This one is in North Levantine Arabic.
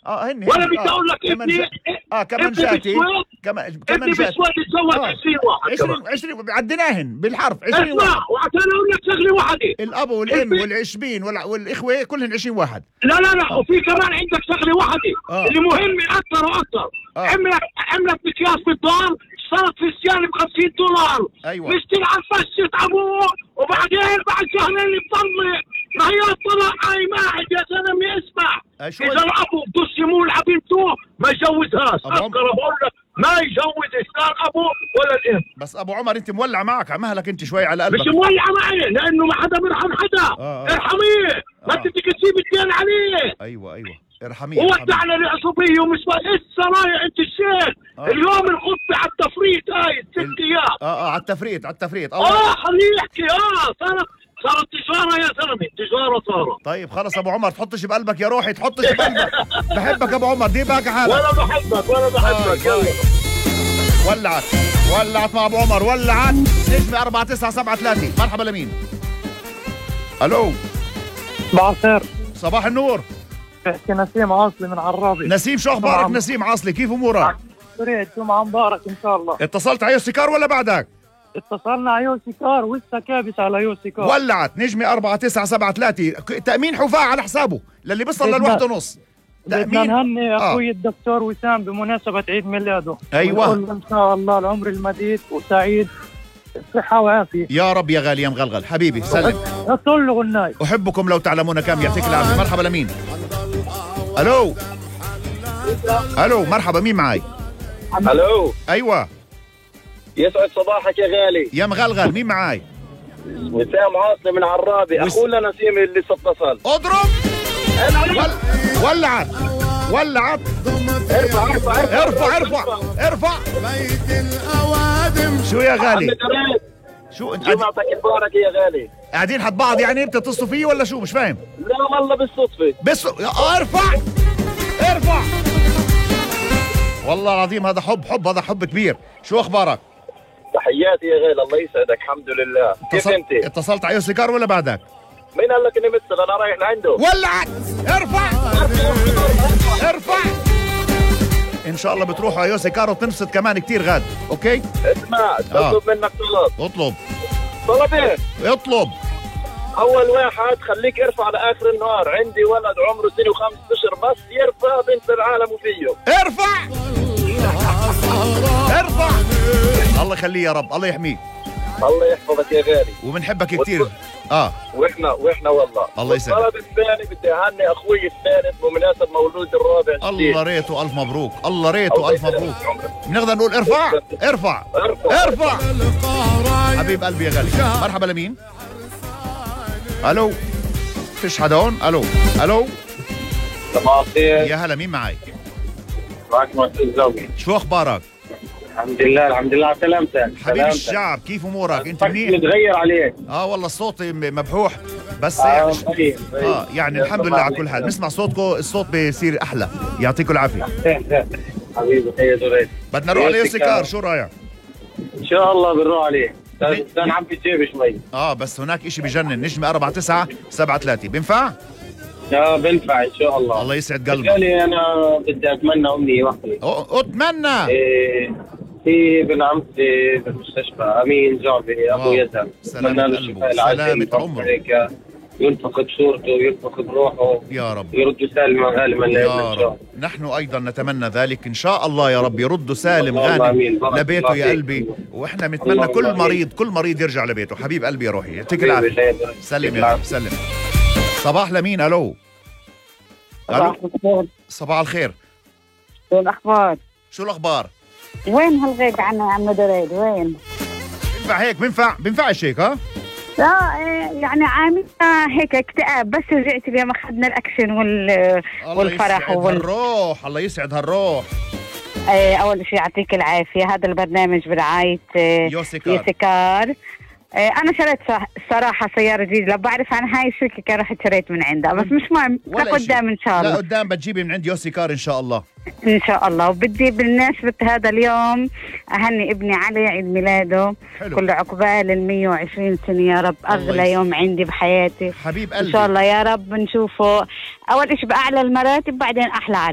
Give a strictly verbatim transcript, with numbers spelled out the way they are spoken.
اه هن ولا بدي اقول لك ابني اه كمان جاتي كمان كمان ابني بسويد تزوج عشرين واحد عشرين عشرين عديناهن بالحرف عشرين واحد. اسمع وعشان اقول لك شغله واحده، الاب والام والعشبين والاخوه كلهم عشرين واحد. لا لا لا آه. وفي كمان عندك شغله واحده آه. اللي مهمه اكثر واكثر. آه. عملك عملك مكياج في الدار صارت في السياره ب خمسين دولار. ايوه مشتري على فشة ابوه وبعدين بعد شهرين بضل ما هي طلع اي ماعد يا زلمه اسمع. اذا الابو بدوش يمول على بنته ما يجوزهاش. اذكر بقول لك ما يجوز لا ابو ولا الام. بس ابو عمر انت مولع معك على مهلك انت شوي على قلبك. مش مولع معي لانه ما حدا بيرحم حدا. آه. ارحميه ما انت بدك تسيب الدين عليه. ايوه ايوه ارحميه. ودعنا العصبيه ومش لسه رايح انت الشيخ. آه. اليوم الخطبه على التفريط هاي ست ايام. اه اه على التفريط على التفريط. اه خليه يحكي. اه صارت صارت تجاره يا زلمه تجاره صارت. طيب خلص ابو عمر تحطش بقلبك يا روحي تحطش بقلبك. بحبك ابو عمر دي باقي حالك. ولا بحبك ولا بحبك. يلا ولعت ولعت مع ابو عمر ولعت. نجمة أربعة تسعة سبعة ثلاثة. مرحبا لمين؟ الو صباح الخير. صباح النور. بحكي نسيم عاصلي من عرابي. نسيم شو اخبارك نسيم عاصلي كيف امورك؟ سريع جمعة مبارك ان شاء الله. اتصلت على يوسي كار ولا بعدك؟ اتصلنا على يوسي كار ولسه كابس على يوسي كار. ولعت نجمة أربعة تسعة سبعة ثلاثة. تأمين حفاة على حسابه للي بيصل للواحد ونص. بدنا نهني اخوي آه. الدكتور وسام بمناسبة عيد ميلاده. ايوه ان شاء الله العمر المديد وسعيد صحة وعافية يا رب يا غالي يا مغلغل حبيبي سلم. اطل له غناي. احبكم لو تعلمون كم يعطيك العافية. مرحبا لمين؟ الو الو مرحبا مين معي؟ الو ايوه يسعد صباحك يا غالي يا مغلغل مين معي؟ وسام عاصلي من عرابي. وس... اخونا نسيم اللي اتصل. اضرب ول... ولعت ولعت. ارفع ارفع ارفع ارفع ارفع. بيت الاوادم. شو يا غالي؟ شو انت جمعتك مبارك يا غالي. قاعدين حد بعض يعني بتتصلوا فيه ولا شو مش فاهم؟ لا والله بالصدفة. بس ارفع ارفع. والله العظيم هذا حب حب هذا حب كبير. شو اخبارك؟ تحياتي يا غالي الله يسعدك. الحمد لله. كيف انت؟ اتصلت على يوسي كار ولا بعدك؟ مين قال لك اني مثل؟ انا رايح لعنده. ولعت ارفع ارفع. ان شاء الله بتروحوا على يوسي كار وتنبسط كمان كتير غاد. اوكي اسمع اطلب آه. منك طلب. اطلب طلبين. اطلب. اول واحد خليك ارفع لاخر النهار. عندي ولد عمره سنه وخمس اشهر بس يرفع بنت العالم وفيه. ارفع ارفع. الله يخليه يا رب الله يحميه. الله يحفظك يا غالي وبنحبك كثير. اه واحنا واحنا والله. الله يسعدك. الطلب الثاني بدي اهني اخوي الثالث بمناسبه مولود الرابع. الله ريته الف مبروك. الله ريته الف مبروك. بنقدر نقول ارفع ارفع ارفع, ارفع. حبيب قلبي يا غالي. مرحبا لمين؟ الو فيش حدا هون؟ الو الو صباح الخير. يا هلا مين معي؟ معك معتز زوجي. شو اخبارك؟ الحمد لله الحمد لله على سلامتك. حبيب الشعب كيف امورك؟ انت منيح؟ متغير عليك. اه والله الصوت مبحوح بس آه يعني طيب. اه يعني الحمد لله على كل حال. نسمع صوتكم الصوت بيصير احلى. يعطيكم العافيه. حبيبي خير دوريت. بدنا نروح على يوسي كار شو رايك؟ ان شاء الله بنروح عليه. بدنا نعبي جيبي شوي. اه بس هناك اشي بجنن. نجمة أربعة تسعة سبعة ثلاثة. بينفع؟ اه بنفع ان شاء الله. الله يسعد قلبك. يعني انا بدي اتمنى امنيه واحده. اتمنى إيه في ابن عمتي بالمستشفى امين جعبي ابو يزن. سلامة قلبه سلامة عمره. ينفقد صورته وينفقد روحه يا رب. يرد سالما غانما يا رب. نحن ايضا نتمنى ذلك ان شاء الله يا رب. يرد سالم غانم لبيته يا قلبي. واحنا بنتمنى كل مريض كل مريض يرجع لبيته. حبيب قلبي يا روحي يعطيك العافيه. سلم يا رب سلم. صباح لمين؟ الو صباح الخير. صباح الخير. شو الاخبار؟ شو الاخبار؟ وين هالغيب عنا يا عم دريد وين؟ بينفع هيك؟ بينفع بينفعش هيك ها؟ لا يعني عاملة هيك اكتئاب بس رجعت اليوم اخذنا الاكشن وال والفرح وال هالروح. الله يسعد هالروح. ايه اول شيء يعطيك العافية. هذا البرنامج برعاية يوسي كار. يوسي كار. انا شريت صراحه سياره جديده. لو بعرف عن هاي الشركه كان رحت شريت من عندها بس مش مهم لقدام ان شاء الله. لا قدام بتجيبي من عند يوسي كار ان شاء الله. ان شاء الله. وبدي بالمناسبه هذا اليوم اهني ابني علي عيد ميلاده. حلو. كل عقبال ال مية وعشرين سنه يا رب. اغلى يوم عندي بحياتي. حبيب قلبي ان شاء الله يا رب نشوفه اول شيء باعلى المراتب بعدين احلى عريس.